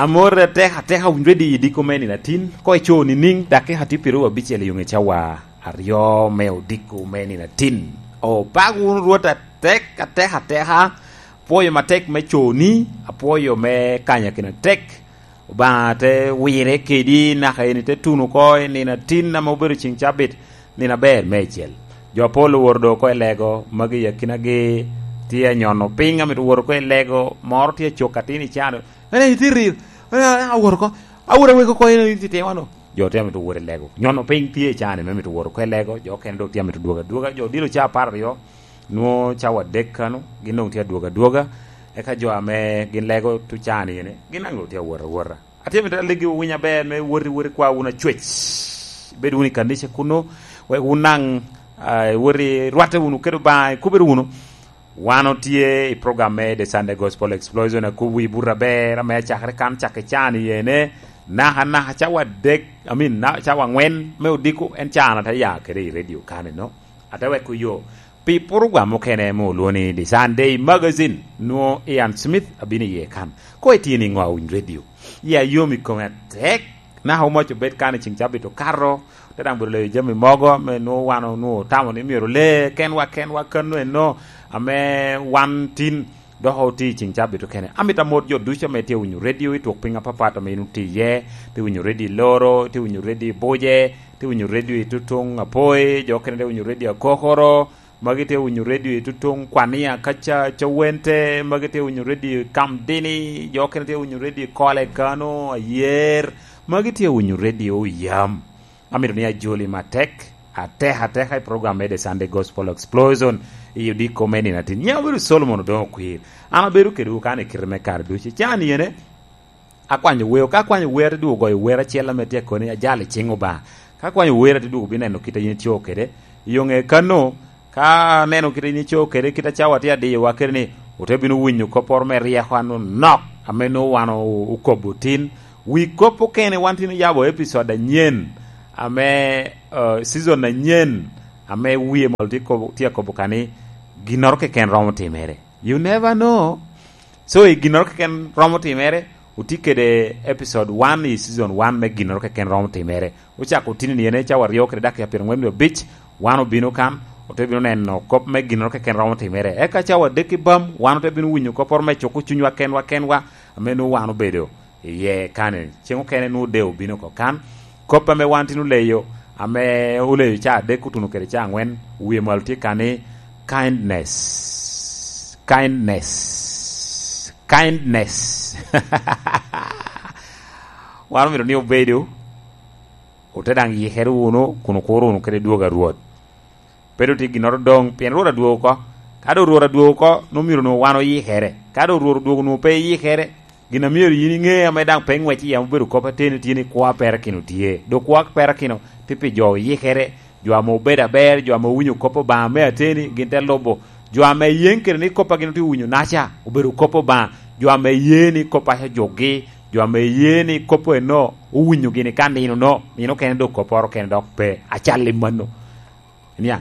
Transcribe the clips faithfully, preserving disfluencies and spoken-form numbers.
Amor atek ateka, owinyo ready i diko me nino atin, ko ico nining, dakika tye pyeraryo abicel i ŋe cawa aryo me odiko me nino atin. Opako wunu Rwot atek ateka ateka, apwoyo matek me coni, apwoyo me kanya kina tek. Obaŋa te wire kedi, naka eni te tuno oko i nino atin ame obedo ceŋ cabit, nino aber meicel. Jo apol owoto doŋ oko i lego, magi i akinagi tye anyono piny, amito woto oko i lego, moro tye acok atin i cano. Ene, itye rir, ene, awoto oko, awoto aweko oko, ene, itye timo ano? Jo tye amito wot i lego. Nyono piny tye i cani me mito wot oko i lego, jo okene dok tye amito dwogo adwoga. Jo odilo ca apar aryo, nwo cawa adek kano, gin doŋ tye adwogo adwoga. Eka jo ame gin lego tu cani ene, gin daŋ doŋ tye awot awota. Atye amito alegi winy aber me wot i wot i kwa wun acwec. Bed wun i kanica kuno, wek wun daŋ, ah, iwot i rwatte wunu kede Obaŋa, ikubere wunu. Wan otye i program me The Sunday Gospel Explosion, akubo wi buto aber ame acakere kan cak i can i ene, naka, naka cawa adek, I mean, na, cawa aŋwen me odiko, en can ate ya kede i radio kan eno. Ate weko yo pi program mukene ame olwoŋo ni The Sunday Magazine, nwo Ian Smith abino iye kan. Ko itye niŋo a winy radio? Ya yom i kome atek, naka omac obed kan i ceŋ cabit okato, te daŋ bedo leyo jami mogo ame nwo wan onwo otamo ni myero ole kenwa kenwa kano eno ame wan tin dok otye i ceŋ cabit okene. Amito amot jo ducu ame tye winyo radio i twok piny apapat ame in otye iye, tye winyo radio i Loro, tye winyo radio i Buje, tye winyo radio i Tutuŋ Apoi, jo okene tye winyo radio Akokoro, magi tye winyo radio i Tutuŋ Kwania, kaca Cawente, magi tye winyo radio i Kamdini, jo okene tye winyo radio i Kole Kano, Ayer, magi tye winyo radio Oyam. Amito ni ajoli matek, atek ateka i program me The Sunday Gospel Explosion i odiko me nino atin. Nyiŋa obedo Solomon Odoŋo Okwir. An abedo kedwu kan i kite me kare ducu. Can yene, akwanyo wer, ka akwanyo wer, te dwogo goyo wer acel ame tye koni ajalo i ciŋ Obaŋa. Ka akwanyo wer, te dwogo bineno kit a yin itye kede. I yo ŋe kano, ka aneno kit a yin itye kede, kit a cawa tye adiyowa kede ni, ote bino winyo kopporo me ryeko anonok, ame nwoŋo wan o-, okobo tin. Wi kop okene wan tin oyabo episode anyen, ame, eh, season anyen, ame wie malo tye kobo, tye akobo ka ni, ginnoro keken romo timere. You never know. So, i ginnoro keken romo timere, otye kede episode one i season one me ginnoro keken romo timere. Ocako otino ni en cawa aryo kede dakika pyerangwen wie abic, wan obino kan, ote bino neno kop me ginnoro keken romo timere. Eka cawa adek i bam, wan ote bino winyo kopporo me cuko cunywa kenwa kenwa, ame nwoŋo wan obedo iye kan. Ceŋ okene nwoŋo dee obino oko kan. Kop ame wan tin oleyo, ame oleyo ca adek otuno kede ca aŋwen, wie malo tye ka ni, kindness, kindness, kindness. Wan omito ni obedo, ote daŋ yikere wunu, kun okuro wunu kede dwogo a Rwot. Pe doŋ tye ginnoro doŋ, pien Rwot adwogo oko. Ka doŋ Rwot adwogo oko, nwoŋo myero nwoŋo wan oyikere. Ka doŋ Rwot odwogo nwoŋo pe iyikere, gin a myero yin iŋe ame daŋ pe ŋwec i yam obedo kop ateni tye ni kwo a perakino tye. Doŋ kwo a perakino tye pi jo oyikere, jo ame obedo aber, jo ame owinyo kop Obaŋa me ateni, gin te lubo. Jo ame yeŋ kede ni kop a gin otye winyo naca obedo kop Obaŋa. Jo ame ye ni kop a jukgi, jo ame ye ni kop eno owinyo gini ka nino no, nino kene doŋ kopporo kene dok pe. Acal i mano. Iniaŋ,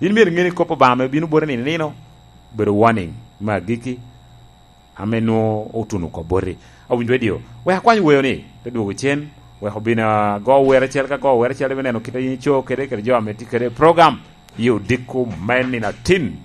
in myero iŋe ni kop Obaŋa ame bino boti nino nino obedo warning me agikki ame nwoŋo otuno oko boti. Awinyo radio, wek akwany weyo ni, te dwogo cen, wek obin ago wer acel ka go wer acel, ibineno kit a yin ico kede, kede jo ame tye kede i program, i odiko me nino atin.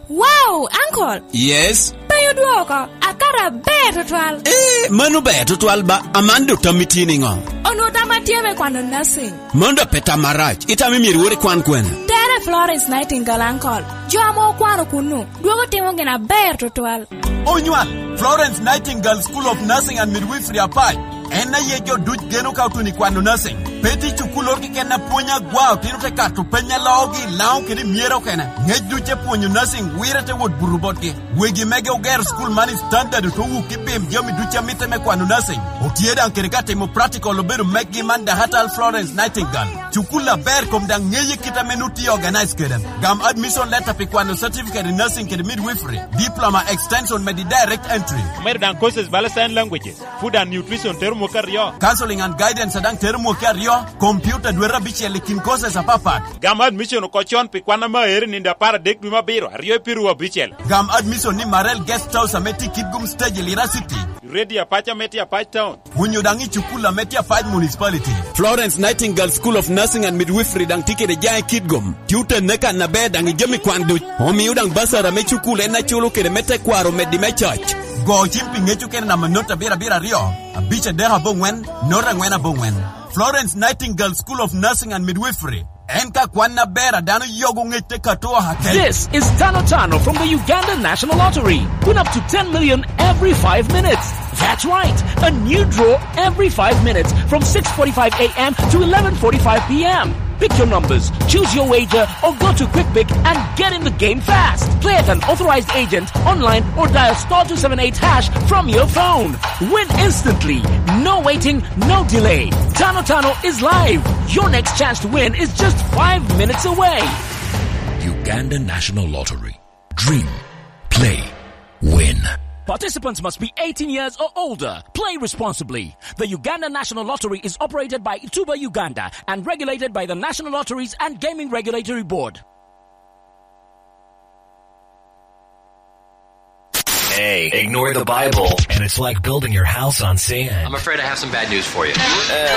Wow, uncle! Yes? Pe odwoko, akato aber tutwal. Eh, mano ber tutwal ba, Amando tammi tye niŋo? Onwoŋo tamma tye me kwano nursing. Mano dok pe tam marac, itamo myero iwor ikwan kwene? Tere Florence Nightingale, uncle. Jo ame okwano kunnu, dwogo timo gin aber tutwal. Onywal, Florence Nightingale School of Nursing and Midwifery Apac. En aye jo duc geno ka otuno i kwano nursing. Pe tye cukulloro keken a pwony agwa, otino te kato peny a loogi, Laŋo kede myero okene. Ŋec duc epwonyo nursing, wire te wot buto botgi. Wegi mege ogero school man i standard, ote wuk i bim jami duc a mitte me kwano nursing. Otye daŋ kede ka timo practical, obedo meggi man Dahatal Florence Nightingale. Cukul aber kom daŋ ŋeye kit ame nut tye organize kede. Gam admission letter pi kwano certificate in nursing kede midwifery, diploma extension medi direct entry. Omedo daŋ courses bala sign languages, food and nutrition tero mwaka aryo. Counseling and guidance daŋ tero mwaka aryo, computer dwete abicel i kin courses apapat. Gam admission oko con pi kwan ame aero i nino apar adek dwe me abiro, aryo i piru abicel. Gam admission ni Marel Guest House ame tye i Kitgum Stage i Lira City. Ready Apac ame tye Apac Town. Onyo daŋ i cukul ame tye Apac Municipality. Florence Nightingale School of Nursing and Midwifery daŋ tye kede jaŋ i Kitgum. Tye otenne kan aber daŋ i jami kwan duc. Omio daŋ basara me cukul en aculo kede me tekwaro meddi me coc. Go cim pi ŋec okene namba not abiro abiro aryo, abic adek aboŋwen, not angwen aboŋwen. Florence Nightingale School of Nursing and Midwifery. En ka kwan aber a dano yogo ŋec te kato oha kec. This is Tano Tano from the Uganda National Lottery. Win up to ten million every five minutes. That's right, a new draw every five minutes from six forty-five a m to eleven forty-five p m. Pick your numbers, choose your wager, or go to QuickPick and get in the game fast. Play at an authorized agent, online, or dial star two seven eight hash from your phone. Win instantly. No waiting, no delay. Tano Tano is live. Your next chance to win is just five minutes away. Uganda National Lottery. Dream. Play. Win. Participants must be eighteen years or older. Play responsibly. The Uganda National Lottery is operated by Tuba Uganda and regulated by the National Lotteries and Gaming Regulatory Board. Hey, ignore the Bible, and it's like building your house on sand. I'm afraid I have some bad news for you.